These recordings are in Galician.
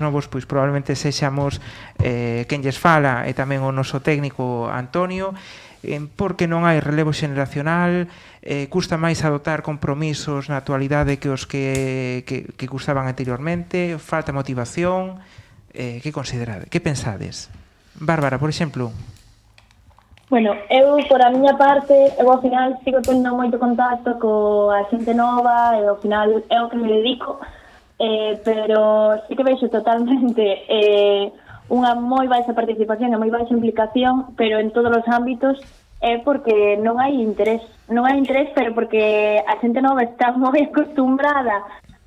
novos, pois probablemente sexamos quen lles fala e tamén o noso técnico Antonio, porque non hai relevo xeneracional, custa máis adoptar compromisos na actualidade que os que custaban anteriormente, falta motivación. Que considerade? Que pensades? Bárbara, por exemplo. Bueno, eu, por a miña parte, eu ao final sigo tendo moito contacto coa xente nova e ao final é o que me dedico, pero sí que vexo totalmente unha moi baixa participación e moi baixa implicación, pero en todos os ámbitos é porque non hai interés, pero porque a xente nova está moi acostumbrada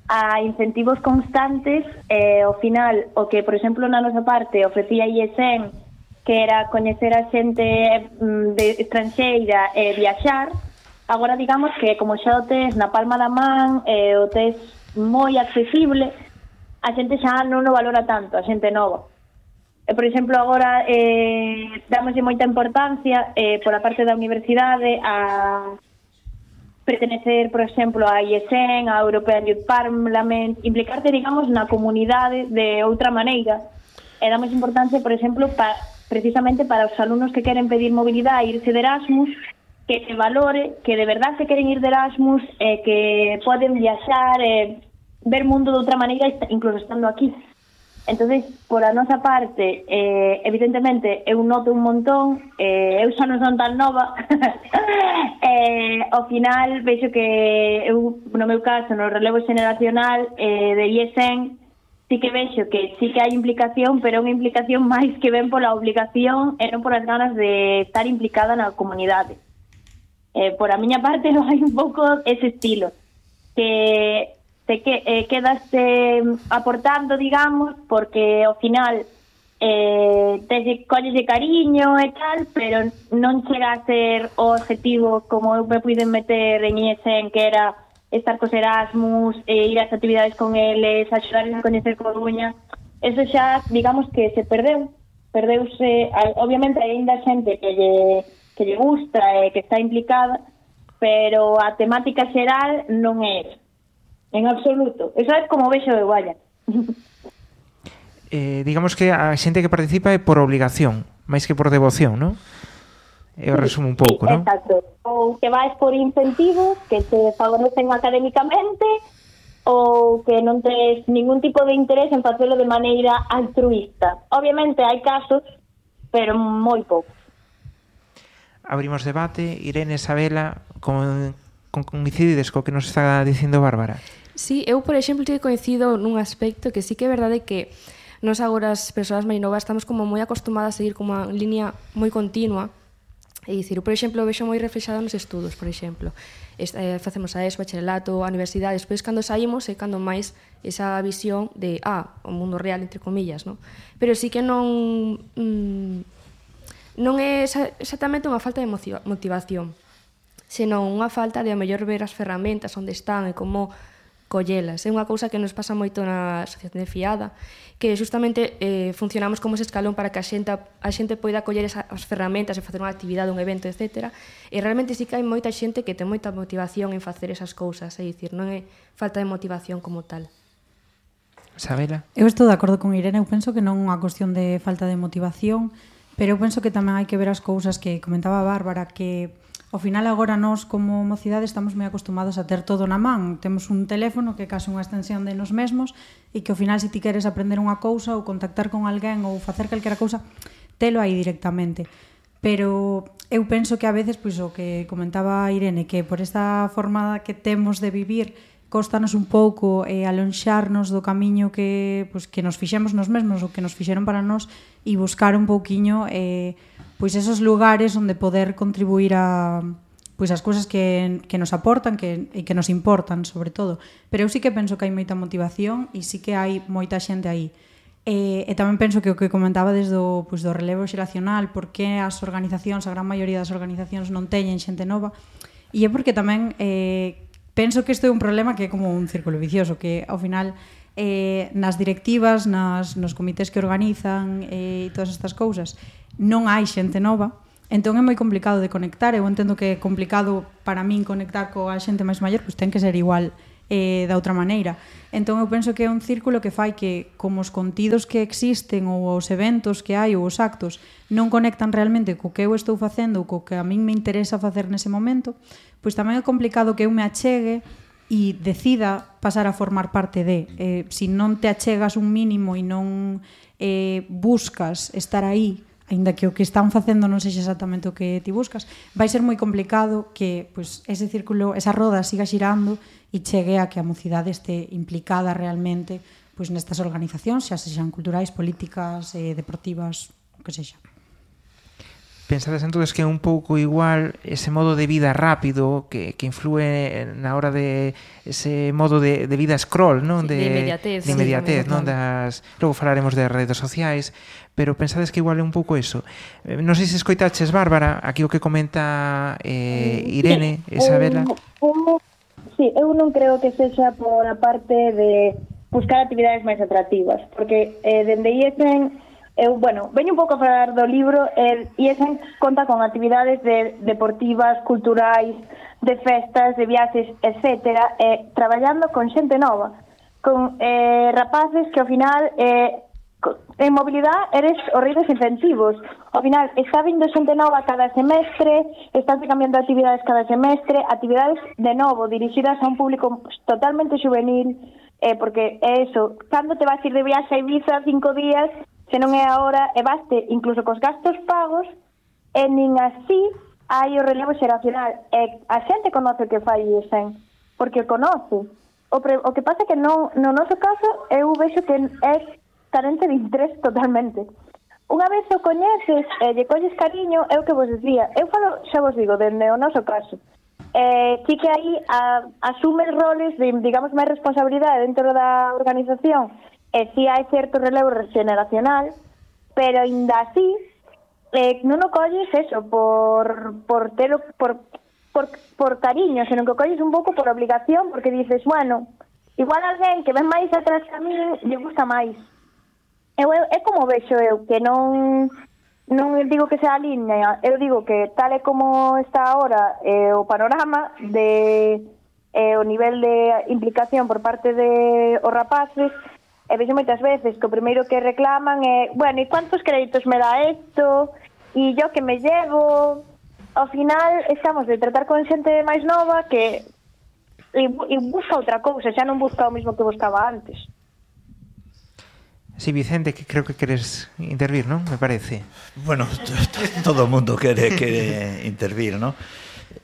a incentivos constantes, ao final o que, por exemplo, na nosa parte ofrecía IESEN, que era coñecer a xente estranxeira e viaxar, agora digamos que como xa o tes na palma da man, o tes moi accesible, a xente xa non o valora tanto, a xente nova. Por exemplo, agora damoslle moita importancia por a parte da universidade a pertenecer, por exemplo, a IESEN, a European Youth Parliament, implicarte, digamos, na comunidade de outra maneira. E damos importancia, por exemplo, precisamente para os alumnos que queren pedir mobilidade e irse de Erasmus, que se valore, que de verdad se queren ir de Erasmus, que poden viaxar, ver mundo de outra maneira, incluso estando aquí. Entonces, por a nosa parte, evidentemente, eu noto un montón, eu xa non son tan nova, ao final vexo que eu, no meu caso, no relevo xeneracional de IESEN, sí que vexo que sí que hai implicación, pero unha implicación máis que ven pola obligación e non polas ganas de estar implicada na comunidade. Por a miña parte, non hai un pouco ese estilo, que quedaste aportando, digamos, porque ao final colles de cariño e tal, pero non chega a ser o objetivo como eu me puiden meter en IESEN, que era estar cos Erasmus, ir ás actividades con eles, axudarles a coñecer Coruña. Eso xa, digamos que se perdeuse, obviamente hai ainda xente que lle gusta e que está implicada, pero a temática xeral non é eso. En absoluto. Eso é como vexo eu, vaya. Digamos que a xente que participa é por obligación, máis que por devoción, non? Eu resumo un pouco, non? Exacto. Ou que vais por incentivos que te favorecen académicamente, ou que non tes ningún tipo de interés en facelo de maneira altruista. Obviamente hai casos, pero moi poucos. Abrimos debate. Irene, Isabela, coincidides co que nos está dicindo Bárbara? Sí, eu, por exemplo, te coincido nun aspecto que sí que é verdade que nos agora as persoas máis novas estamos como moi acostumadas a seguir como unha línea moi continua. É dicir, por exemplo, vexo moi reflexado nos estudos, por exemplo. Facemos a ESO, bacharelato, a universidade, despois cando saímos é cando máis esa visión de, o mundo real, entre comillas, non? Pero sí que non é exactamente unha falta de motivación, senón unha falta de, a mellor, ver as ferramentas onde están e como collelas. É unha cousa que nos pasa moito na asociación de Fiada, que justamente funcionamos como ese escalón para que a xente poida coller as ferramentas e facer unha actividade, un evento, etc. E realmente sí que hai moita xente que ten moita motivación en facer esas cousas, é dicir, non é falta de motivación como tal. Isabela? Eu estou de acordo con Irene, eu penso que non é unha cuestión de falta de motivación, pero eu penso que tamén hai que ver as cousas que comentaba Bárbara, que ao final agora nós como mocidade estamos moi acostumados a ter todo na man. Temos un teléfono que é case unha extensión de nos mesmos e que ao final se ti queres aprender unha cousa ou contactar con alguén ou facer calquera cousa, telo aí directamente. Pero eu penso que a veces, pois o que comentaba Irene, que por esta forma que temos de vivir costanos un pouco alonxarnos do camiño que nos fixemos nos mesmos ou que nos fixeron para nós e buscar un pouquiño pois esos lugares onde poder contribuir a pois as cousas que nos aportan e que nos importan, sobre todo. Pero eu sí que penso que hai moita motivación e sí que hai moita xente aí. E tamén penso que o que comentaba desde do relevo xeracional, porque as organizacións, a gran maioría das organizacións non teñen xente nova, e é porque tamén penso que isto é un problema que é como un círculo vicioso, que ao final nas directivas, nos comités que organizan e todas estas cousas, non hai xente nova, entón é moi complicado de conectar. Eu entendo que é complicado para min conectar coa xente máis maior, pois ten que ser igual da outra maneira. Entón eu penso que é un círculo que fai que, como os contidos que existen ou os eventos que hai ou os actos non conectan realmente co que eu estou facendo ou co que a min me interesa facer nese momento, pois tamén é complicado que eu me achegue e decida pasar a formar parte de. Se non te achegas un mínimo e non buscas estar aí, aínda que o que están facendo non sexa exactamente o que ti buscas, vai ser moi complicado que pois, ese círculo, esa roda siga xirando e chegue a que a mocidade este implicada realmente pois, nestas organizacións, xa sexan culturais, políticas, deportivas, o que sexa. Pensades entonces que é un pouco igual ese modo de vida rápido que influe na hora de ese modo de vida scroll, non? De inmediatez. De inmediatez, Sí, non? Logo falaremos de redes sociais, pero pensades que igual é un pouco eso. Non sei se escoitaches, Bárbara, aquí o que comenta Irene, Isabela. Sí, eu non creo que sexa por a parte de buscar actividades máis atractivas, porque dende IESEN veño un pouco a falar do libro, IESEN conta con actividades deportivas, culturais, de festas, de viaxes, etcétera, traballando con xente nova, con rapaces que ao final en mobilidade eres horribles incentivos. Ao final está vindo xente nova cada semestre, están cambiando actividades cada semestre, actividades de novo dirixidas a un público totalmente juvenil, porque é eso, cando te vas ir de viaxe a Ibiza 5 días, se non é agora, e baste incluso cos gastos pagos, e nin así hai o relevo xeracional. E a xente conoce o que fai IESEN, porque o conoce. O que pasa é que no noso caso eu vexo que é carente de interés totalmente. Unha vez o coñeces e lle colles cariño, é o que vos decía. Eu falo, xa vos digo, dende o noso caso. Sí que aí asumes roles de, digamos, máis responsabilidade dentro da organización, e si hai certo relevo generacional, pero ainda así non o colles eso por cariño, senón que o colles un pouco por obligación, porque dices, bueno, igual alguén que ven máis atrás que a mí lle gusta máis. É como vexo eu, que non digo que sea a línea, eu digo que tal e como está agora o panorama de o nivel de implicación por parte de os rapaces, e vexo moitas veces que o primeiro que reclaman é, bueno, e cuántos créditos me dá isto? E yo que me llevo? Ao final estamos de tratar con xente máis nova que e busca outra cousa, xa non busca o mismo que buscaba antes. Sí, Vicente, que creo que queres intervir, non? Me parece. Bueno, todo o mundo quere intervir, non?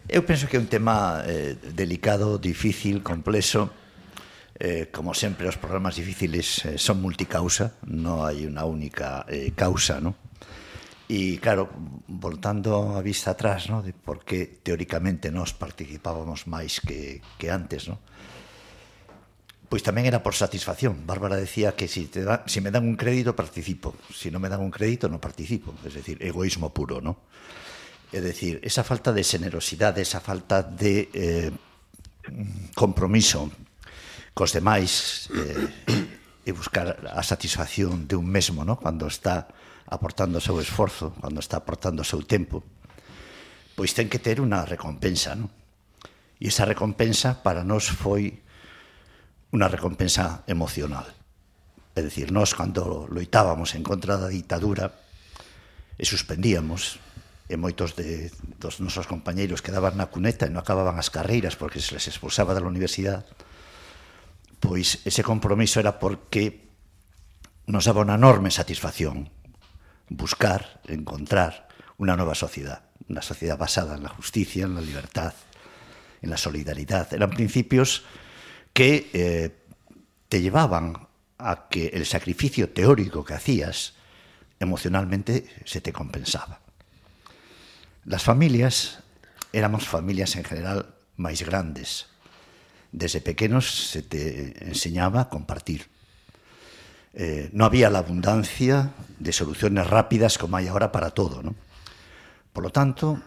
Eu penso que é un tema delicado, difícil, complexo. Como sempre, os problemas difíciles son multicausa, non hai unha única causa, non? E, claro, voltando a vista atrás, non? De por que teóricamente nós participábamos máis que antes, non? Pois tamén era por satisfacción. Bárbara decía que si me dan un crédito, participo. Si non me dan un crédito, non participo. Es decir, egoísmo puro, non? É dicir, esa falta de generosidade, esa falta de compromiso cos demais e buscar a satisfacción de un mesmo, ¿no? Cando está aportando o seu esforzo, cando está aportando o seu tempo, pois ten que ter unha recompensa, ¿no? E esa recompensa para nós foi unha recompensa emocional. É dicir, nós cando loitábamos en contra da ditadura e suspendíamos, e moitos dos nosos compañeiros quedaban na cuneta e non acababan as carreiras porque se les expulsaba da universidade, pois ese compromiso era porque nos daba unha enorme satisfacción buscar, encontrar unha nova sociedade, unha sociedade basada en la justicia, en la libertad, en la solidaridad. Eran principios que te llevaban a que el sacrificio teórico que hacías emocionalmente se te compensaba. Las familias, éramos familias en general máis grandes. Desde pequenos se te enseñaba a compartir. No había la abundancia de soluciones rápidas como hai agora para todo, ¿no? Por lo tanto,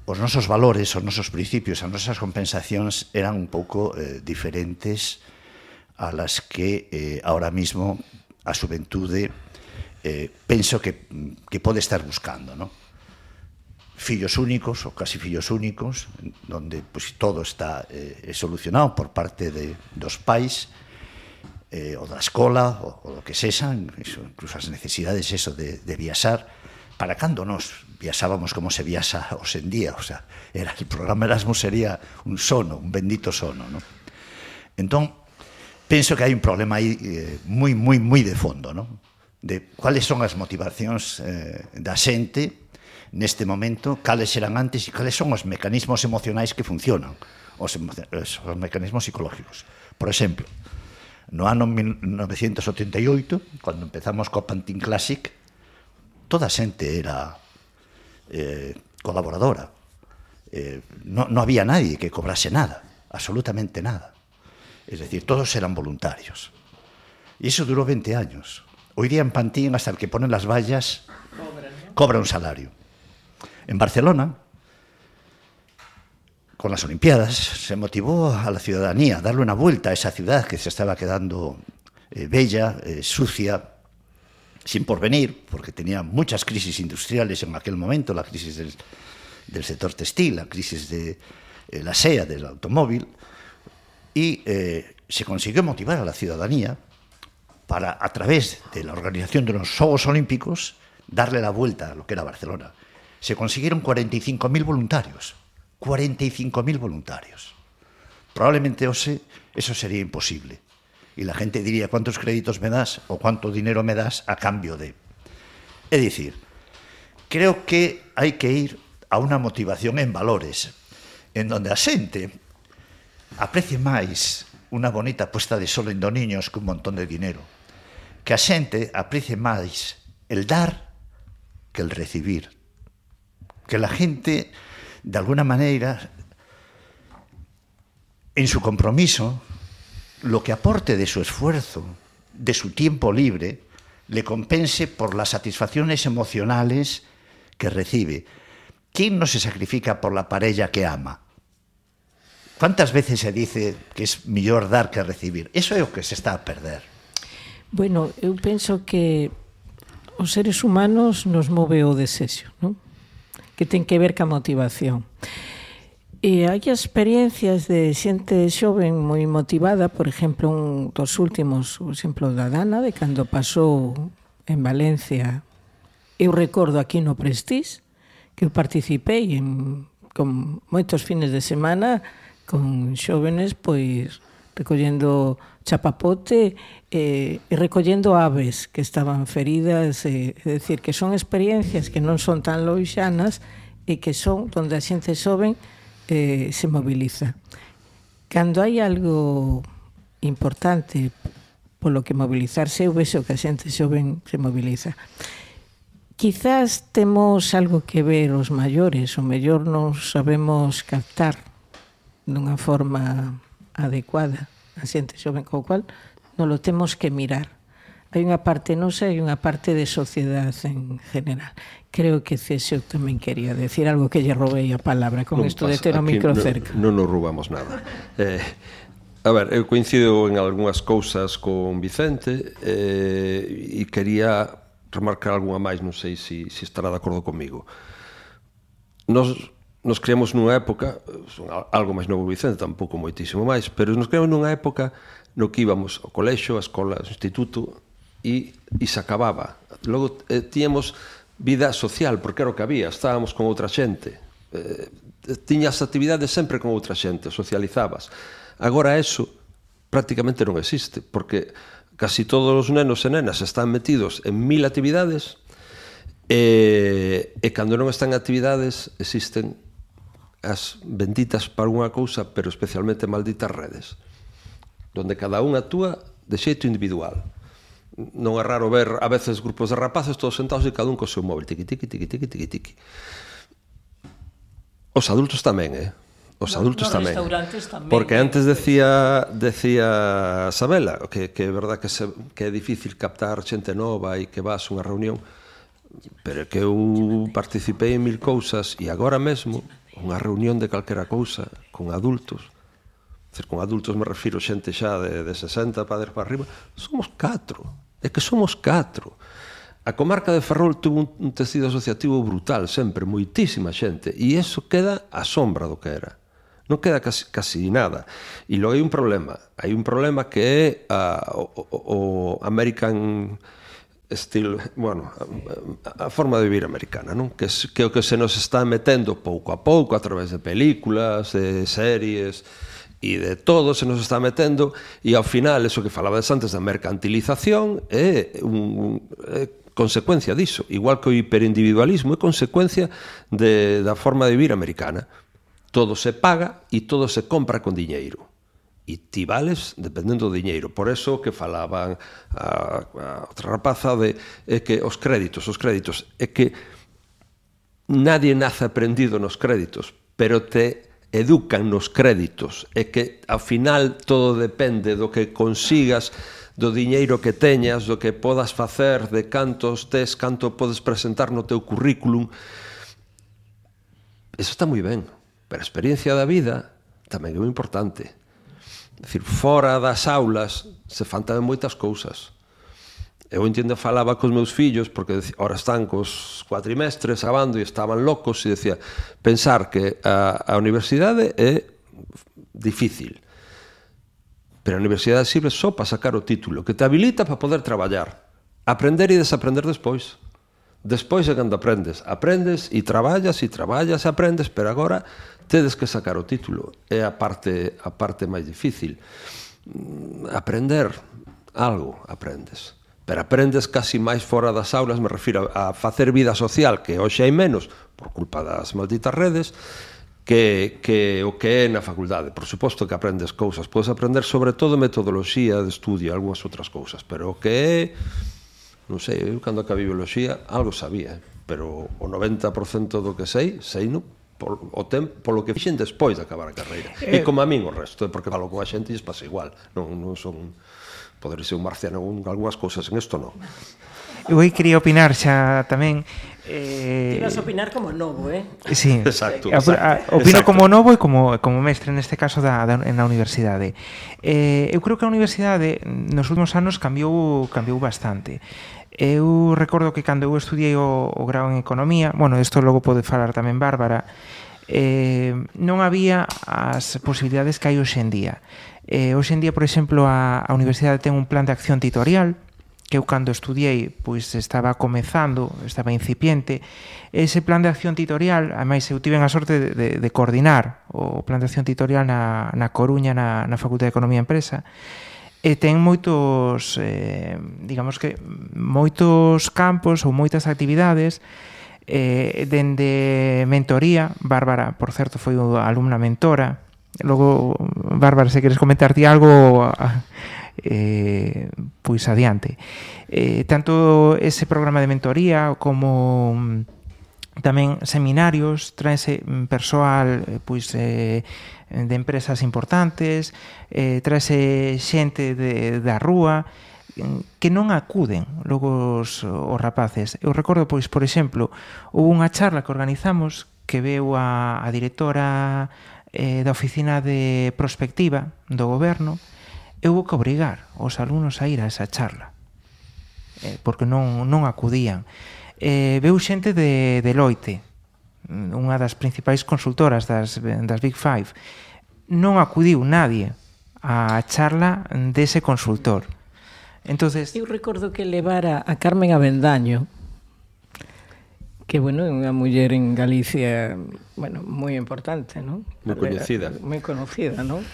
os nosos valores, os nosos principios, as nosas compensacións eran un pouco diferentes a las que ahora mismo a xuventude penso que pode estar buscando, ¿no? fillos únicos ou casi fillos únicos, donde pues, todo está solucionado por parte dos pais, ou da escola, ou do que sexan, incluso as necesidades de viaxar, para cando nos viaxábamos como se viaxa hoxe en día, o sea, el programa Erasmus sería un sono, un bendito sono, ¿no? Entón, penso que hai un problema aí moi de fondo, ¿no? De cuáles son as motivacións da xente neste momento, cales eran antes e cales son os mecanismos emocionais que funcionan, os mecanismos psicológicos. Por exemplo, no ano 1988, cando empezamos co Pantin Classic, toda a xente era colaboradora. No había nadie que cobrase nada, absolutamente nada. Es decir, todos eran voluntarios. Y eso duró 20 años. Hoy día en Pantin, hasta el que pone las vallas cobra un salario. En Barcelona, con las Olimpiadas, se motivó a la ciudadanía a darle una vuelta a esa ciudad que se estaba quedando bella, sucia, sin porvenir, porque tenía muchas crisis industriales en aquel momento, la crisis del sector textil, la crisis de la SEA, del automóvil, y se consiguió motivar a la ciudadanía para, a través de la organización de los Juegos Olímpicos, darle la vuelta a lo que era Barcelona. Se consiguieron 45.000 voluntarios. 45.000 voluntarios. Probablemente hoxe eso sería imposible. Y la gente diría, ¿cuántos créditos me das o cuánto dinero me das a cambio de? Es decir, creo que hai que ir a unha motivación en valores, en donde a xente aprecie máis unha bonita puesta de sol en do niños que un montón de dinero, que a xente aprecie máis el dar que el recibir, que la gente, de alguna maneira, en su compromiso, lo que aporte de su esfuerzo, de su tiempo libre, le compense por las satisfacciones emocionales que recibe. ¿Quién no se sacrifica por la parella que ama? ¿Cuántas veces se dice que es mellor dar que recibir? Eso é o que se está a perder. Bueno, eu penso que os seres humanos nos move o desexo, non? Que ten que ver ca motivación. E hai experiencias de xente xoven moi motivada, por exemplo, un dos últimos, o exemplo da Dana, de cando pasou en Valencia. Eu recordo aquí no Prestige, que eu participei con moitos fines de semana con xóvenes, pois, recollendo chapapote e recollendo aves que estaban feridas, é dicir, que son experiencias que non son tan loixanas e que son onde a xente xoven se moviliza. Cando hai algo importante polo que mobilizarse, eu vexo que a xente xoven se moviliza. Quizás temos algo que ver os maiores, o mellor non sabemos captar dunha forma adecuada a xente xoven, co cual non lo temos que mirar. Hai unha parte nosa e unha parte de sociedade en general. Creo que Césio tamén quería decir algo, que lle robei a palabra con isto de ter o micro cerca. Non nos roubamos nada. A ver, eu coincido en algunhas cousas con Vicente e quería remarcar algunha máis, non sei se estará de acordo comigo. Nos criamos nunha época, algo máis novo Vicente, tampouco moitísimo máis, pero nos criamos nunha época no que íbamos ao colexo, á escola, ao instituto, e se acababa. Logo tíamos vida social, porque era o que había, estábamos con outra xente, tiñas actividades sempre con outra xente, socializabas. Agora eso prácticamente non existe, porque casi todos os nenos e nenas están metidos en 1000 actividades e cando non están en actividades existen as benditas para unha cousa, pero especialmente malditas redes, donde cada un actúa de xeito individual. Non é raro ver a veces grupos de rapaces todos sentados e cada un co seu móvil, tiqui, tiqui, tiqui, tiqui, tiqui, tiqui. Os adultos tamén, Os adultos tamén. Porque antes decía Sabela que é verdad que é difícil captar xente nova e que vas a unha reunión, pero que eu participei en 1000 cousas e agora mesmo unha reunión de calquera cousa con adultos, con adultos me refiro xente xa de 60 padres para arriba, somos 4. É que somos 4. A comarca de Ferrol tuvo un tecido asociativo brutal sempre, moitísima xente, e iso queda a sombra do que era. Non queda casi nada. E logo hai un problema que é o American style, bueno, a forma de vivir americana, non? Que é o que se nos está metendo pouco a pouco a través de películas, de series e de todo se nos está metendo, e ao final, eso que falabas antes da mercantilización é consecuencia diso, igual que o hiperindividualismo é consecuencia da forma de vivir americana. Todo se paga e todo se compra con diñeiro. E ti vales dependendo do diñeiro. Por eso que falaban a outra rapaza de que os créditos, é que nadie nace aprendido nos créditos, pero te educan nos créditos. É que ao final todo depende do que consigas, do diñeiro que teñas, do que podas facer, de cantos tes, canto podes presentar no teu currículum. Eso está moi ben, pero a experiencia da vida tamén é moi importante. É dicir, fora das aulas se fan tamén moitas cousas. Eu entendo, falaba cos meus fillos, porque ahora están cos cuatrimestres acabando e estaban locos, e decía, pensar que a universidade é difícil, pero a universidade sirve só para sacar o título, que te habilita para poder traballar, aprender e desaprender despois. Despois é cando aprendes e traballas e aprendes, pero agora tedes que sacar o título. É a parte máis difícil. Aprender algo, aprendes. Pero aprendes casi máis fora das aulas, me refiro a facer vida social, que hoxe hai menos, por culpa das malditas redes, que o que é na facultade. Por suposto que aprendes cousas, podes aprender sobre todo metodoloxía de estudio, algunhas outras cousas, pero o que é, non sei, eu cando acabei bioloxía algo sabía, pero o 90% do que sei no polo que fixen despois de acabar a carreira. E como a min o resto, porque falo con a xente e pasa igual, non son, poder ser un marciano en algunhas cousas, en isto non. Eu aí quería opinar xa tamén. Ti vas a opinar como novo, Sí, exacto. Opino como novo e como mestre neste caso na universidade. Eu creo que a universidade nos últimos anos cambiou bastante. Eu recordo que cando eu estudiei o grau en Economía, bueno, isto logo pode falar tamén Bárbara, non había as posibilidades que hai hoxe en día. Hoxe en día, por exemplo, a universidade ten un plan de acción tutorial, que eu cando estudiei pois estaba comezando, estaba incipiente. Ese plan de acción tutorial, ademais eu tiven a sorte de coordinar o plan de acción tutorial na Coruña, na Facultade de Economía e Empresa, e ten moitos, digamos que moitos campos ou moitas actividades, dende mentoría. Bárbara, por certo, foi a alumna mentora. Logo, Bárbara, se queres comentar ti algo, pois adiante. Tanto ese programa de mentoría como tamén seminarios, traense persoal pois de empresas importantes, traense xente da rúa que non acuden logo os rapaces. Eu recordo, pois, por exemplo, houve unha charla que organizamos que veu a directora da oficina de prospectiva do goberno, e houve que obrigar os alumnos a ir a esa charla porque non acudían. Veu xente de Deloitte, unha das principais consultoras das Big Five. Non acudiu nadie á charla dese consultor. Entonces, eu recordo que levara a Carmen Avendaño, que, bueno, é unha muller en Galicia, bueno, moi importante, non? Moi coñecida. Moi conocida, non?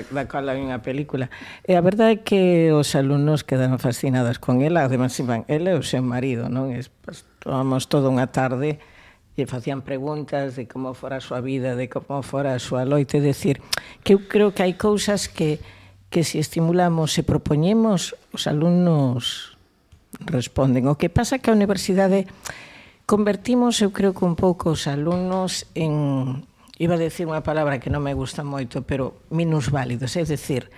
Da cual hai unha película. E a verdade é que os alumnos quedaron fascinados con ela, además iban ela e o seu marido, non? Estábamos toda unha tarde e facían preguntas de como fora a súa vida, de como fora a súa loite, decir, que eu creo que hai cousas que se estimulamos e propoñemos, os alumnos responden. O que pasa que a universidade convertimos, eu creo que un pouco os alumnos en, iba a decir unha palabra que non me gusta moito, pero minusválidos, é dicir,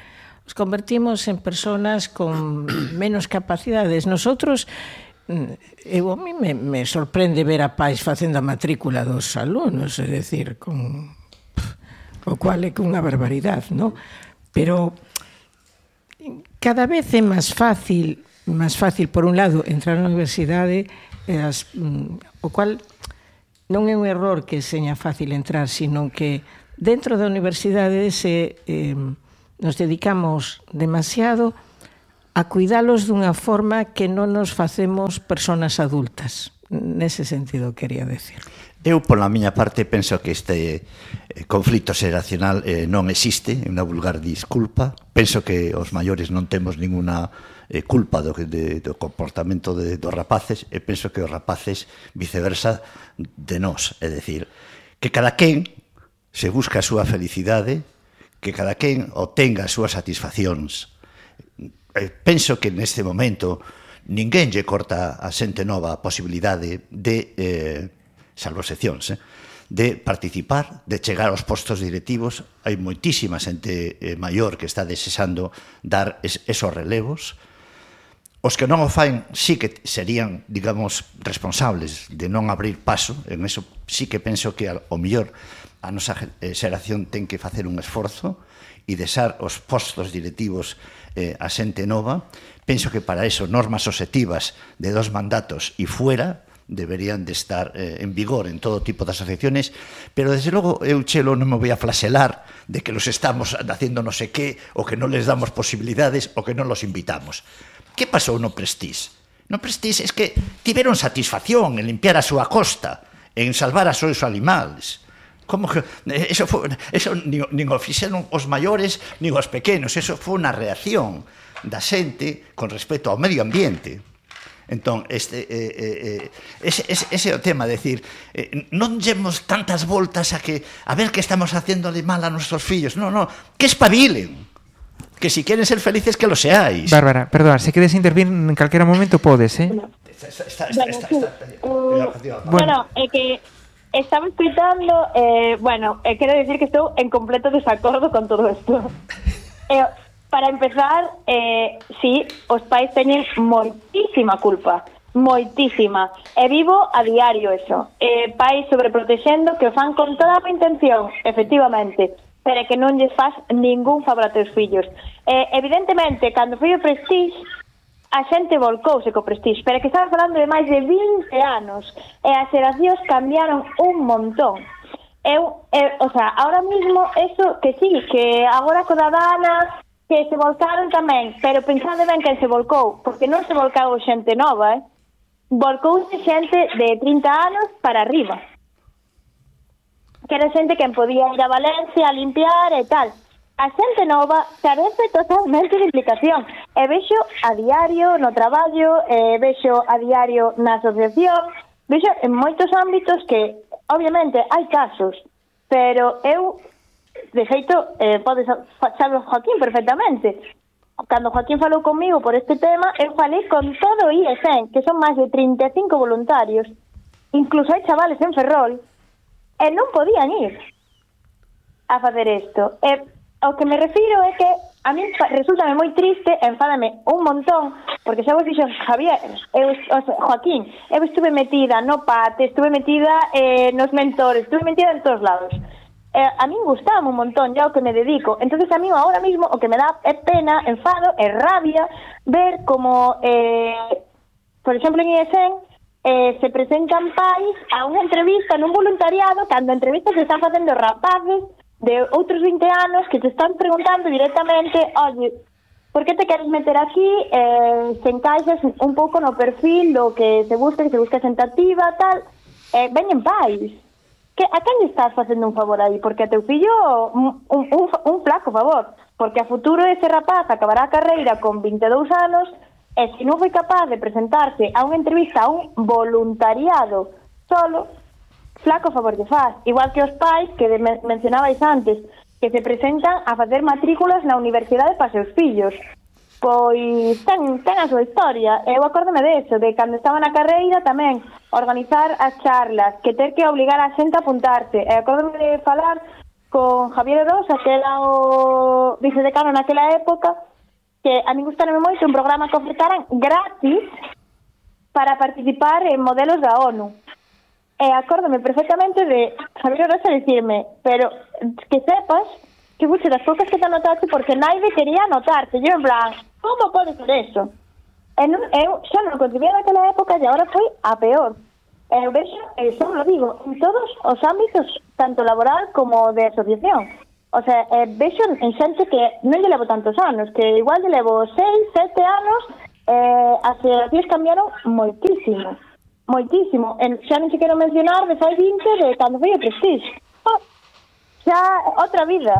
os convertimos en personas con menos capacidades. Nosotros, a mí me sorprende ver a pais facendo a matrícula dos alumnos, é dicir, o cual é unha barbaridade, non? Pero cada vez é máis fácil máis fácil, por un lado, entrar na universidade, o cual non é un error que seña fácil entrar, sino que dentro da universidade nos dedicamos demasiado a cuidalos dunha forma que non nos facemos personas adultas. Nese sentido, quería decir. Eu, pola miña parte, penso que este conflito xeracional non existe, é unha vulgar disculpa. Penso que os maiores non temos ninguna culpa do comportamento dos rapaces, e penso que os rapaces, viceversa, de nós. É dicir, que cada quen se busca a súa felicidade, que cada quen obtenga as súas satisfaccións. Penso que neste momento ninguén lle corta a xente nova a posibilidade de, salvo excepcións, de participar, de chegar aos postos directivos. Hai moitísima xente maior que está desexando dar esos relevos. Os que non o faen sí que serían, digamos, responsables de non abrir paso. En eso sí que penso que ao mellor a nosa xeración ten que facer un esforzo e deixar os postos directivos a xente nova. Penso que para eso normas obxectivas de 2 mandatos e fuera deberían de estar en vigor en todo tipo de asociaciones, pero desde logo eu, Chelo, non me voy a flaselar de que los estamos haciendo no sé qué, o que non les damos posibilidades, o que non los invitamos. Que pasou no Prestige? No Prestige es que tiveron satisfacción en limpiar a súa costa, en salvar a seus animales. Como que eso nin o fixeron os maiores nin os pequenos, eso foi unha reacción da xente con respecto ao medio ambiente. Entón, ese é o tema, decir, non llevemos tantas voltas a ver que estamos haciéndole mal a nuestros fillos. No, que espabilen. Que si quieren ser felices, que lo seáis. Bárbara, perdón, se queres intervir en calquera momento podes, Bueno, é que estaba escuitando, quero dicir que estou en completo desacordo con todo isto. Para empezar, sí, os pais teñen moitísima culpa, moitísima. E vivo a diario eso. Pais sobreprotexendo que o fan con toda a intención, efectivamente, pero que non lles faz ningún favor a teus fillos. Evidentemente, cando foi o Prestige, a xente volcouse co Prestige, pero que estamos falando de máis de 20 anos, e as xeracións cambiaron un montón. Ahora mismo, eso que sí, que agora co da Dana, que se volcaron tamén, pero pensade ben quen se volcou, porque non se volcou xente nova, volcouse xente de 30 anos para arriba, que era xente quen podía ir a Valencia a limpiar e tal. A xente nova carece totalmente de implicación, e vexo a diario no traballo, vexo a diario na asociación, vexo en moitos ámbitos que, obviamente, hai casos, pero eu, de feito, podes saber Joaquín perfectamente. Cando Joaquín falou comigo por este tema, eu falei con todo o IESEN, que son máis de 35 voluntarios, incluso hai chavales en Ferrol, e non podían ir a facer isto. O que me refiro é que a mí resultame moi triste, enfádame un montón, porque xa vos dixo Javier, Joaquín, eu estuve metida no PAT, estuve metida nos mentores, estuve metida en todos lados. A mí gustaba un montón ya o que me dedico. Entonces a mí ahora mismo o que me da é pena, enfado, é rabia ver como, por exemplo, en IESEN se presentan pais a unha entrevista nun voluntariado, cando a entrevista se están facendo rapaces de outros 20 anos que te están preguntando directamente, oye, por que te queres meter aquí, se encaixas un pouco no perfil do que se busca sentativa, tal, veñen pais. A quen estás facendo un favor aí? Porque a teu fillo un flaco favor, porque a futuro ese rapaz acabará a carreira con 22 anos e se non foi capaz de presentarse a unha entrevista a un voluntariado solo, flaco favor de faz. Igual que os pais que mencionabais antes, que se presentan a facer matrículas na universidade para seus fillos. Pois ten a súa historia. Eu acórdome deso, de cando estaba na carreira tamén organizar as charlas, que ter que obligar a xente a apuntarse. E acórdome de falar con Javier Rosa, que era o vicedecano naquela época, que a mí gustárame moito un programa que ofertaran gratis para participar en modelos da ONU. E acórdome perfectamente de Javier Rosa dicirme, pero que sepas que fuiste das poucas que te anotaste porque naide quería anotarte. Yo en plan, como pode ser eso? Eu xa non concibía naquela época e agora foi a peor. Eu vexo, só lo digo, en todos os ámbitos, tanto laboral como de asociación. O sea, vexo en xente que non lle levo tantos anos, que igual lle levo 6, 7 anos, as asociacións cambiaron moitísimo. Moitísimo. Xa non se quero mencionar de fai 20 de cando foi o Prestige. Xa outra vida.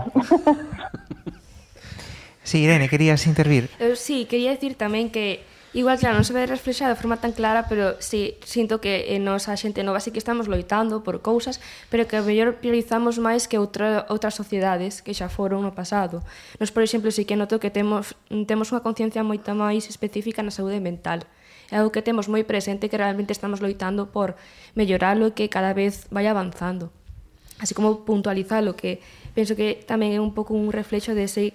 Sí, Irene, querías intervir? Sí, quería decir tamén que igual, claro, non se ve reflexado de forma tan clara, pero sí, sinto que nos a xente nova sí que estamos loitando por cousas, pero que a mellor priorizamos máis que outras sociedades que xa foron no pasado. Nos, por exemplo, sí que noto que temos unha conciencia moita máis específica na saúde mental. É algo que temos moi presente, que realmente estamos loitando por melloralo e que cada vez vai avanzando. Así como puntualizalo, que penso que tamén é un pouco un reflexo dese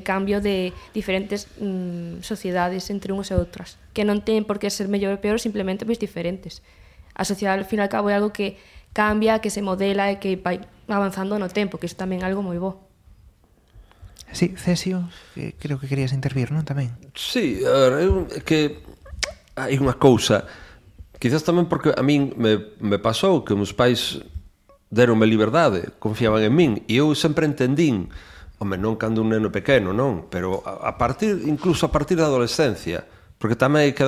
cambio de diferentes sociedades entre unhas e outras, que non ten por que ser mellor ou peor, simplemente pois diferentes. A sociedade, ao fin e ao cabo, é algo que cambia, que se modela e que vai avanzando no tempo, que iso tamén é algo moi bo. Sí, Cesio, creo que querías intervir, non, tamén? Sí, a ver, que hai unha cousa, quizás tamén porque a min me pasou que meus pais deronme liberdade, confiaban en min, e eu sempre entendín, home, non cando un neno pequeno, non, pero incluso a partir da adolescencia, porque tamén hai que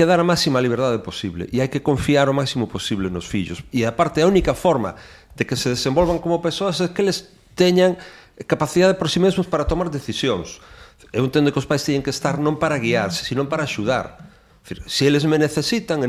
dar a máxima liberdade posible, e hai que confiar o máximo posible nos fillos, e aparte a única forma de que se desenvolvan como persoas é que eles teñan capacidade por si mesmos para tomar decisións. Eu entendo que os pais teñen que estar non para guiarse, sino para axudar. Se eles me necesitan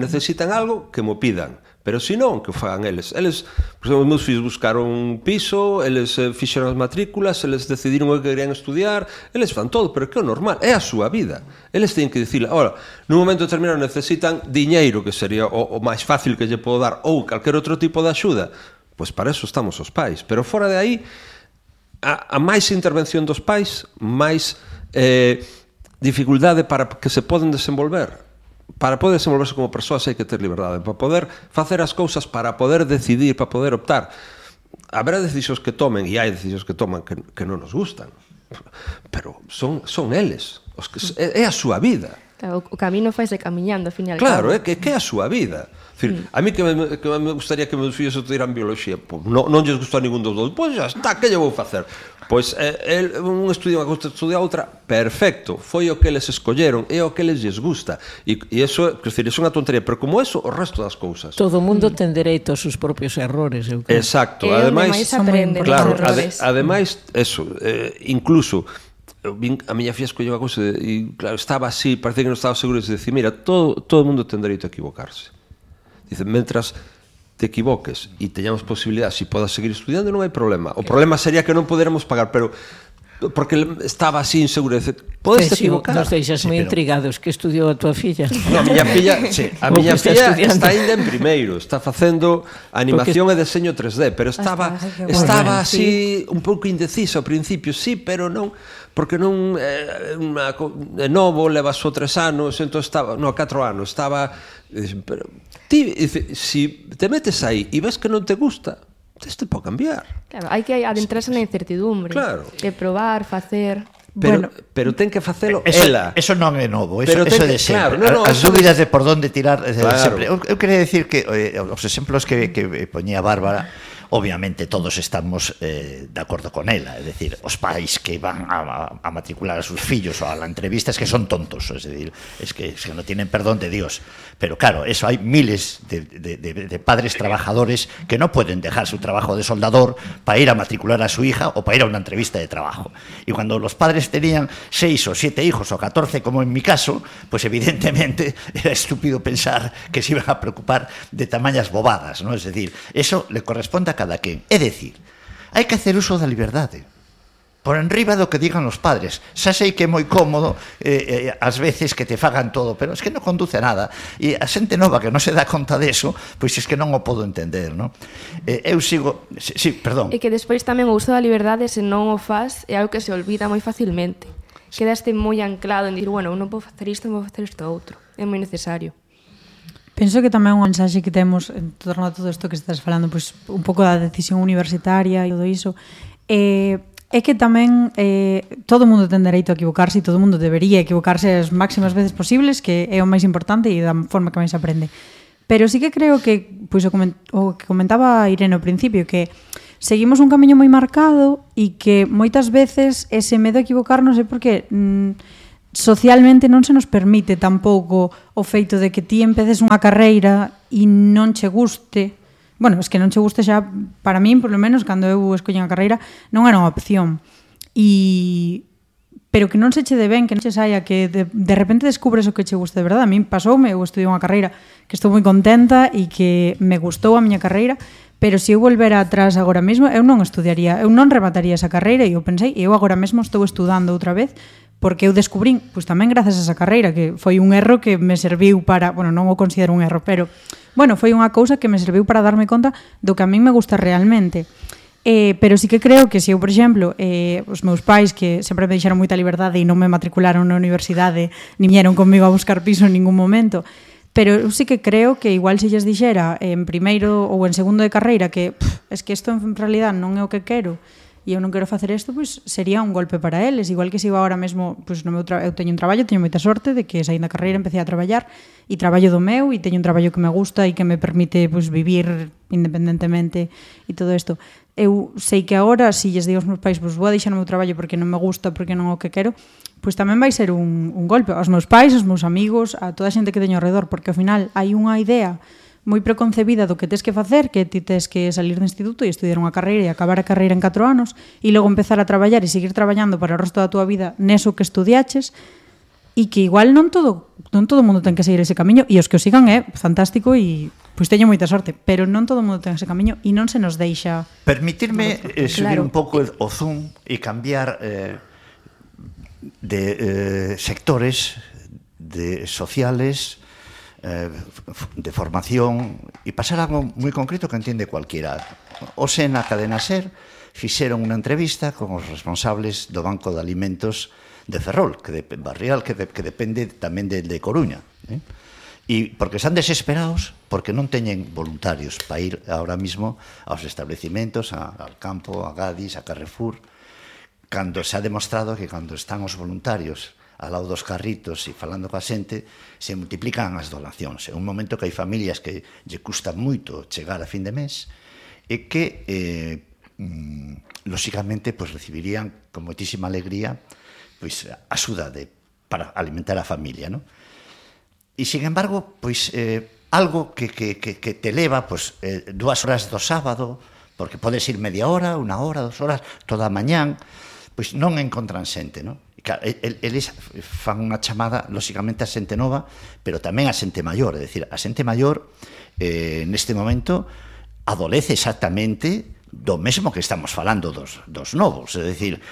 algo, que mo pidan. Pero se non, que o fagan eles. Por exemplo, os meus fillos buscaron un piso, eles fixeron as matrículas, eles decidiron o que querían estudiar, eles fan todo, pero que é o normal, é a súa vida. Eles teñen que dicir, ora, nun momento determinado necesitan diñeiro, que sería o máis fácil que lle podo dar, ou calquer outro tipo de axuda, pois para eso estamos os pais. Pero fora de aí, a máis intervención dos pais, máis dificultade para que se poden desenvolver. Para poder desenvolverse como persoas hai que ter liberdade, para poder facer as cousas, para poder decidir, para poder optar. Haberá decisións que tomen, e hai decisións que toman que non nos gustan, pero son eles, é a súa vida. Claro, o camino faise camiñando, ao fin e ao claro, cabo. é que é a súa vida. A mí que me gustaría que meus fillos estudiaran biología, pues, non lles gustou ningún dos dous, pois xa está, que lle vou facer? Pois un estudia unha cousa, estudia outra, perfecto, foi o que eles escolleron, é o que eles gusta, e iso, quer dizer, é unha tontería, pero como eso, o resto das cousas. Todo o mundo ten dereito aos seus propios errores, eu creo. Exacto, que ademais, claro, ademais, eso, incluso a miña filla escolleu a cousa e claro, estaba así, parece que non estaba seguro de decir, mira, todo o mundo ten dereito a equivocarse. Dice, mentras te equivoques e teñamos posibilidade, se podas seguir estudiando, non hai problema. O problema sería que non poderamos pagar, pero porque estaba así inseguro, dice, podes te equivocar. Nos deixas moi intrigados, que estudiou a tua filla? No, a miña filla está ainda en primeiro, está facendo animación e deseño 3D, pero estaba así un pouco indecisa ao principio, sí, pero non, porque non é novo, leva só 3 anos, entón estaba, 4 anos, estaba, pero ti, se te metes aí e ves que non te gusta, te pode cambiar. Claro, hai que adentrarse na incertidumbre, claro, de probar, facer. Pero ten que facelo ela. Eso non é novo, eso é de sempre. Claro, as dúbidas de por onde tirar de sempre. Eu quería decir que os exemplos que poñía Bárbara, obviamente todos estamos de acordo con ela, é dicir, os pais que van a matricular a sus fillos ou a la entrevista es que son tontos, es decir, es que no tienen perdón de Dios. Pero claro, eso hay miles de padres trabajadores que no pueden dejar su trabajo de soldador para ir a matricular a su hija o para ir a una entrevista de trabajo. Y cuando los padres tenían 6 o 7 hijos o 14, como en mi caso, pues evidentemente era estúpido pensar que se iban a preocupar de tamañas bobadas, ¿no? Es decir, eso le corresponde a cada quen. É dicir, hai que hacer uso da liberdade por enriba do que digan os padres. Xa sei que é moi cómodo ás veces que te fagan todo, pero es que non conduce a nada, e a xente nova que non se dá conta deso, pois es que non o podo entender, non? Eu sigo... Sí, perdón. E que despois tamén o uso da liberdade, se non o faz, é algo que se olvida moi facilmente. Quedaste moi anclado en dir, bueno, non vou facer isto, non vou facer isto outro. É moi necesario. Penso que tamén un mensaxe que temos en torno a todo isto que estás falando, pois un pouco da decisión universitaria e todo iso, É que tamén todo o mundo ten dereito a equivocarse e todo o mundo debería equivocarse as máximas veces posibles, que é o máis importante e da forma que máis aprende. Pero sí que creo que, pois, o que comentaba Irene ao principio, que seguimos un camiño moi marcado e que moitas veces ese medo a equivocarnos é porque socialmente non se nos permite tampouco o feito de que ti empeces unha carreira e non che guste. Bueno, es que non che guste xa, para min, por lo menos, cando eu escollín a carreira, non era unha opción. Pero que non se che de ben, que non che saia, que de repente descubres o que che gusta de verdade. A min pasoume, eu estudiei unha carreira que estou moi contenta e que me gustou a miña carreira, pero se eu volvera atrás agora mesmo, eu non estudiaría, eu non remataría esa carreira, e eu pensei, eu agora mesmo estou estudando outra vez, porque eu descubrín, pois tamén grazas a esa carreira, que foi un erro que me serviu para, bueno, non o considero un erro, pero, bueno, foi unha cousa que me serviu para darme conta do que a min me gusta realmente. Pero sí que creo que se eu, por exemplo, os meus pais, que sempre me deixaron moita liberdade e non me matricularon na universidade, ni vieron comigo a buscar piso en ningún momento, pero eu sí que creo que igual se lles dixera en primeiro ou en segundo de carreira que es que isto en realidad non é o que quero, e eu non quero facer isto, pois sería un golpe para eles, igual que se eu agora mesmo, pois no meu eu teño un traballo, teño moita sorte de que saín da carreira, empecé a traballar e traballo do meu e teño un traballo que me gusta e que me permite pois vivir independentemente e todo isto. Eu sei que agora, se lles digo aos meus pais, pois vou a deixar o meu traballo porque non me gusta, porque non é o que quero, pois tamén vai ser un golpe aos meus pais, aos meus amigos, a toda a xente que teño ao redor, porque ao final hai unha idea moi preconcebida do que tes que facer, que ti tes que salir do instituto e estudiar unha carreira e acabar a carreira en 4 anos e logo empezar a traballar e seguir traballando para o resto da túa vida neso que estudiaches, e que igual non todo o mundo ten que seguir ese camiño, e os que o sigan é fantástico e pois teño moita sorte, pero non todo o mundo ten ese camiño e non se nos deixa. Permitirme subir un pouco o zoom e cambiar de sectores de sociales, de formación, e pasar algo moi concreto que entiende cualquiera. Hoxe na cadena SER fixeron unha entrevista con os responsables do Banco de Alimentos de Ferrol, Barrial, que depende tamén de Coruña. E porque están desesperados porque non teñen voluntarios para ir ahora mismo aos establecimentos, al campo, a Gadis, a Carrefour, cando se ha demostrado que cando están os voluntarios ao lado dos carritos e falando coa xente, se multiplican as donacións. É un momento que hai familias que lle custa moito chegar a fin de mes e que, lóxicamente, pues, recibirían con moitísima alegría pues, axuda para alimentar a familia, ¿no? E, sin embargo, pues, algo que te leva pues, 2 horas do sábado, porque podes ir media hora, 1 hora, 2 horas, toda a mañán, pois non encontran xente, non? Eles fan unha chamada, lóxicamente, a xente nova, pero tamén a xente maior, é dicir, a xente maior neste momento adolece exactamente do mesmo que estamos falando dos novos, é dicir,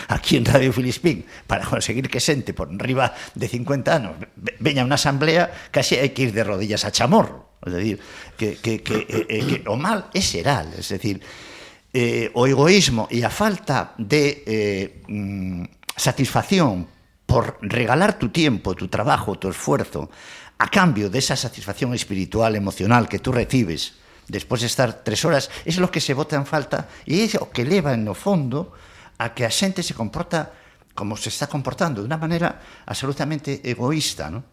aquí en Radio Filispín, para conseguir que xente por riba de 50 anos veña unha asamblea, casi hai que ir de rodillas a chamorro, é dicir, que o mal é xeral, é dicir, o egoísmo e a falta de satisfacción por regalar tu tiempo, tu trabajo, tu esfuerzo a cambio de esa satisfacción espiritual, emocional que tú recibes despois de estar 3 horas, é lo que se bota en falta e é o que leva no fondo a que a xente se comporta como se está comportando, de unha maneira absolutamente egoísta, non?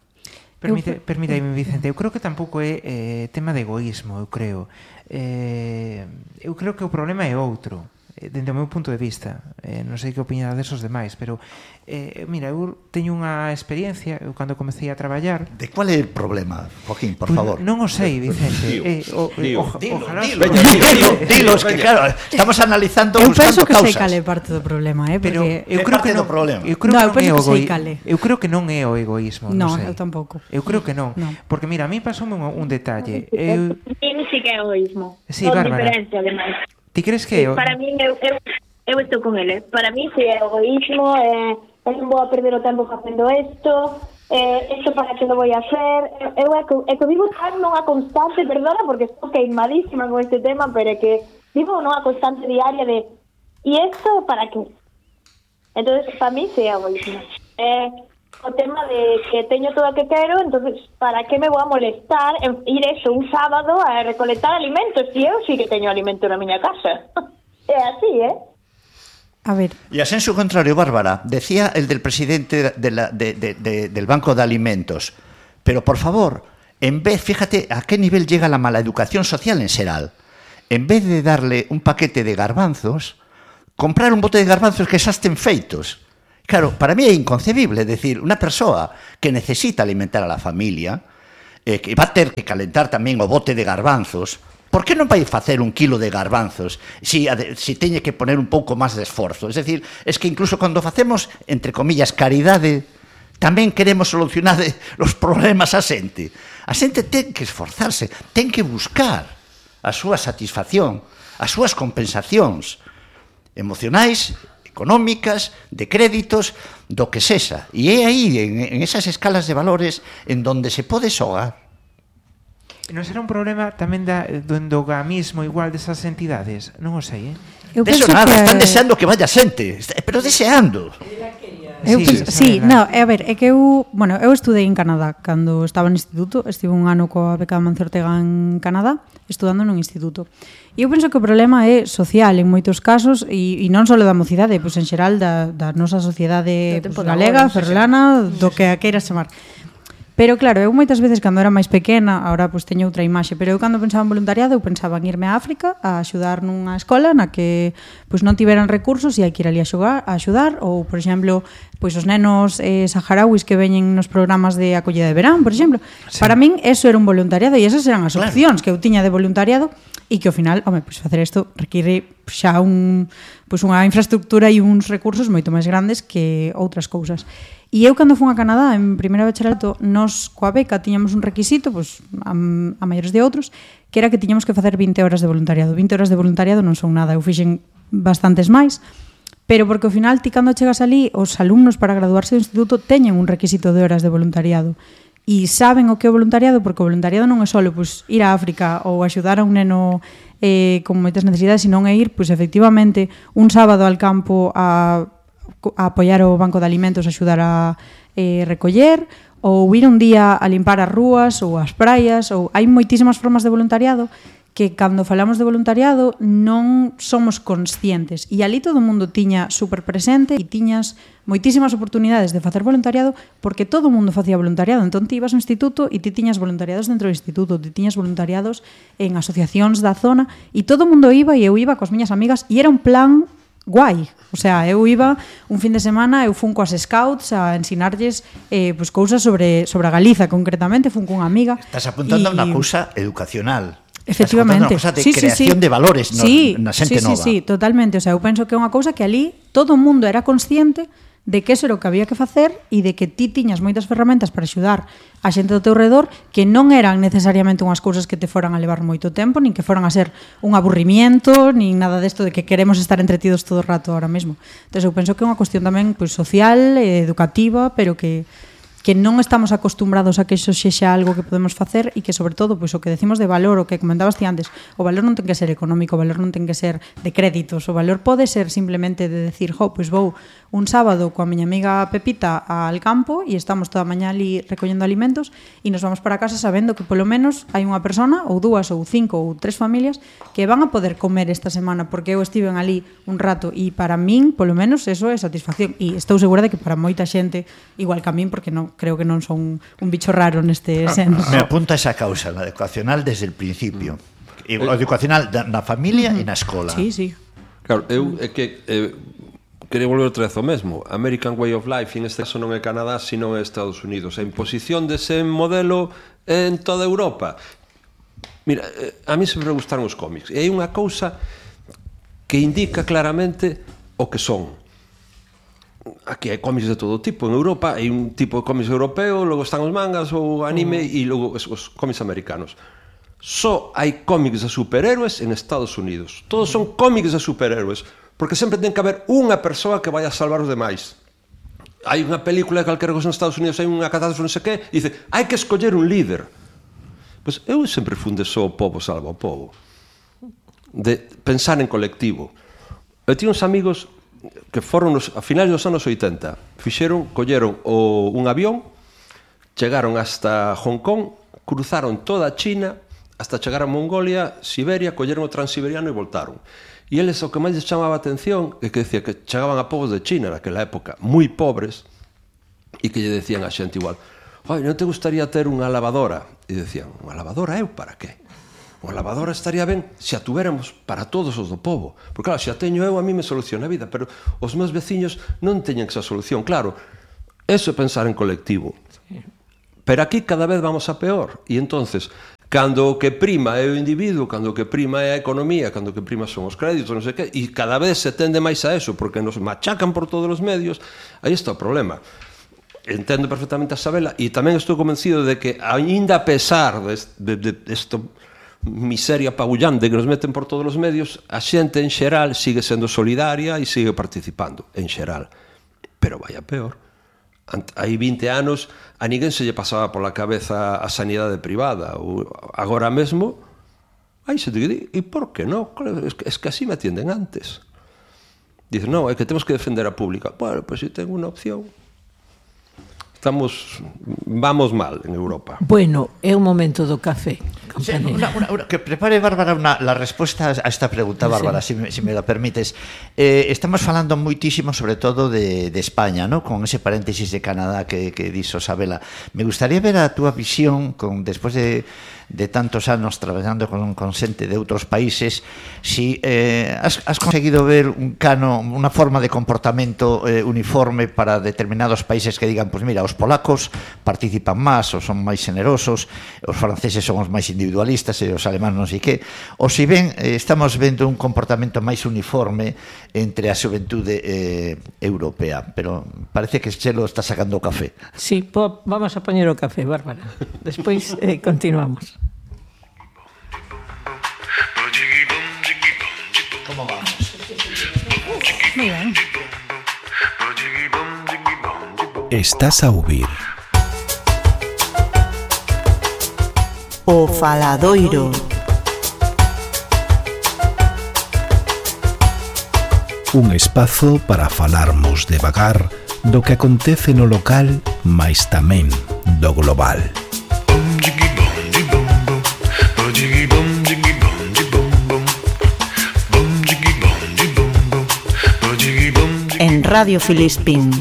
Permítame, Vicente, eu creo que tampouco é tema de egoísmo, eu creo. Eu creo que o problema é outro, dende o meu punto de vista. Non sei que opinades os demais, pero mira, eu teño unha experiencia, eu cando comecei a traballar. De cual é o problema, Joaquín, por favor? Non o sei, Vicente. Dilo, es que claro, estamos analizando buscando causas. Eu penso que sei cale parte do problema, pero eu creo que non é o problema. Eu creo que non é o egoísmo, non sei. Eu tampouco. Eu creo que non, porque mira, a mí pasoume un detalle. Eu sí que é egoísmo. Sí, Bárbara. Ti crees que para mí, eu estou con ele. Para mí, si é egoísmo, non vou a perder o tempo facendo isto para que lo vou a hacer. Eu é que vivo tan nunha constante, perdona, porque estou queimadísima con este tema, pero é que vivo nunha constante diaria de e isto para que? Entonces, para mí, si é egoísmo. O tema de que teño todo o que quero, entonces, para que me vou a molestar en ir eso un sábado a recolectar alimentos? Si eu sí que teño alimento na miña casa. É así, A ver. Y a sensu contrario, Bárbara, decía el del presidente del Banco de Alimentos, pero por favor, en vez, fíjate a qué nivel llega la mala educación social en Seral. En vez de darle un paquete de garbanzos, comprar un bote de garbanzos que xa estén feitos. Claro, para mí é inconcebible, decir, unha persoa que necesita alimentar a la familia, que va a ter que calentar tamén o bote de garbanzos, por que non vai facer 1 kilo de garbanzos si teñe que poner un pouco máis de esforzo? Es decir, es que incluso cando facemos, entre comillas, caridade, tamén queremos solucionar os problemas a xente. A xente ten que esforzarse, ten que buscar a súa satisfacción, as súas compensacións emocionais, económicas, de créditos, do que sexa. E é aí, en esas escalas de valores, en donde se pode xogar. Non será un problema tamén do endogamismo igual desas entidades? Non o sei, De eso nada, están deseando que vaya xente, pero deseando. A ver, é que eu estudei en Canadá cando estaba no instituto, estive un ano coa beca de Amancio Ortega en Canadá, estudando nun instituto. E eu penso que o problema é social en moitos casos e non só da mocidade, pois en xeral da nosa sociedade galega, ferrolana, do que a queiras chamar. Pero claro, eu moitas veces cando era máis pequena, agora pois teño outra imaxe, pero eu cando pensaba en voluntariado, eu pensaba en irme a África a axudar nunha escola na que pois non tiveran recursos e hai que ir ali a axudar, ou, por exemplo, pois os nenos saharauis que veñen nos programas de acollida de verán, por exemplo. Sí. Para min eso era un voluntariado e esas eran as opcións que eu tiña de voluntariado e que ao final, pois facer isto require xa unha infraestructura e uns recursos moito máis grandes que outras cousas. E eu cando fun a Canadá en primeiro bacharelato, nos coa beca tiñamos un requisito, pois a maiores de outros, que era que tiñamos que facer 20 horas de voluntariado. 20 horas de voluntariado non son nada, eu fixen bastantes máis, pero porque ao final ti cando chegas ali, os alumnos para graduarse do instituto teñen un requisito de horas de voluntariado. E saben o que é o voluntariado, porque o voluntariado non é só pois, ir a África ou axudar a un neno con moitas necesidades, senón é ir, pois, efectivamente, un sábado al campo a apoiar o banco de alimentos, a axudar a recoller, ou ir un día a limpar as rúas ou as praias, ou hai moitísimas formas de voluntariado que cando falamos de voluntariado non somos conscientes. E ali todo o mundo tiña super presente e tiñas moitísimas oportunidades de facer voluntariado porque todo o mundo facía voluntariado. Entón ti ibas ao instituto e ti tiñas voluntariados dentro do instituto, ti tiñas voluntariados en asociacións da zona e todo o mundo iba e eu iba coas miñas amigas e era un plan guai. O sea, eu iba un fin de semana, eu fun coas scouts a ensinarlles pois cousas sobre a Galiza concretamente, fun cunha amiga. Estás apuntando a unha cousa educacional. Efectivamente. Unha cousa de creación de valores na xente nova. Sí, totalmente. O sea, eu penso que é unha cousa que ali todo o mundo era consciente de que eso era o que había que facer e de que ti tiñas moitas ferramentas para axudar a xente do teu redor que non eran necesariamente unhas cousas que te foran a levar moito tempo, nin que foran a ser un aburrimiento, nin nada desto de que queremos estar entretidos todo o rato ahora mesmo. Entón, eu penso que é unha cuestión tamén pois, social, educativa, pero que non estamos acostumbrados a que iso sexa algo que podemos facer e que, sobre todo, pois, o que decimos de valor, o que comentabas ti antes, o valor non ten que ser económico, o valor non ten que ser de créditos, o valor pode ser simplemente de decir, pois vou un sábado coa miña amiga Pepita al campo e estamos toda a mañá ali recollendo alimentos e nos vamos para casa sabendo que polo menos hai unha persona, ou dúas, ou 5, ou 3 familias que van a poder comer esta semana porque eu estive ali un rato e para min, polo menos, eso é satisfacción e estou segura de que para moita xente igual que a min, porque non creo que non son un bicho raro neste senso. Me apunta esa causa, la educacional desde el principio. E o educacional na familia e na escola. Sí, sí. Claro, eu é que quería volver outra vez ao mesmo. American Way of Life, en este caso non é Canadá, sino é Estados Unidos. A imposición dese modelo en toda Europa. Mira, a mí sempre me gustaron os cómics. E hai unha cousa que indica claramente o que son. Aquí hai cómics de todo tipo. En Europa hai un tipo de cómics europeo, logo están os mangas ou anime e logo os cómics americanos. Só hai cómics de superhéroes en Estados Unidos. Todos son cómics de superhéroes, porque sempre ten que haber unha persoa que vai a salvar os demais. Hai unha película de calquera cosa en Estados Unidos, hai unha catástrofe non sei que, e dice, hai que escoller un líder. Pois eu sempre funde só o povo salva o povo. De pensar en colectivo. Eu tinha uns amigos que foron a finais dos anos 80, colleron un avión, chegaron hasta Hong Kong, cruzaron toda a China, hasta chegar a Mongolia, Siberia, colleron o Transiberiano e voltaron. E eles o que máis les chamaba a atención é que decía que chegaban a povos de China naquela época, moi pobres, e que lle decían a xente igual: "Oi, non te gustaría ter unha lavadora?" E decían: "Unha lavadora eu para qué? Unha lavadora estaría ben se a tuéramos para todos os do povo. Porque claro, se a teño eu, a mí me soluciona a vida, pero os meus veciños non teñen esa solución." Claro, eso é pensar en colectivo. Pero aquí cada vez vamos a peor. E entonces, cando o que prima é o individuo, cando o que prima é a economía, cando o que prima son os créditos, non sei que, e cada vez se tende máis a eso, porque nos machacan por todos os medios, aí está o problema. Entendo perfectamente a Sabela, e tamén estou convencido de que, aínda a pesar desta miseria pagullante que nos meten por todos os medios, a xente en xeral sigue sendo solidaria e sigue participando, en xeral. Pero vai a peor. Hai 20 anos a ninguén se lle pasaba pola cabeza a sanidade privada. Agora mesmo hai xente que di, e por que non? Es que así me atienden antes. Dicen, non, é que temos que defender a pública. Bueno, pois se ten unha opción. Vamos mal en Europa. Bueno, é un momento do café. Sí, que prepare, Bárbara, la respuesta a esta pregunta, Bárbara, sí. si me la permites. Estamos falando moitísimo, sobre todo, de España, ¿no? Con ese paréntesis de Canadá que dixo Sabela. Me gustaría ver a túa visión, despois de tantos anos traballando con xente de outros países, si has conseguido ver unha forma de comportamento uniforme para determinados países que digan, pues mira, os polacos participan máis, ou son máis generosos, os franceses son os máis individualistas e os alemán non sei que, ou si ben estamos vendo un comportamento máis uniforme entre a xuventude europea, pero parece que Chelo está sacando o café. Sí, vamos a poñer o café, Bárbara. Despois continuamos. Como vamos? Muy ben. Estás a ouvir O Faladoiro. un espazo para falarmos devagar do que acontece no local, mais tamén do global. En Radio Filispín.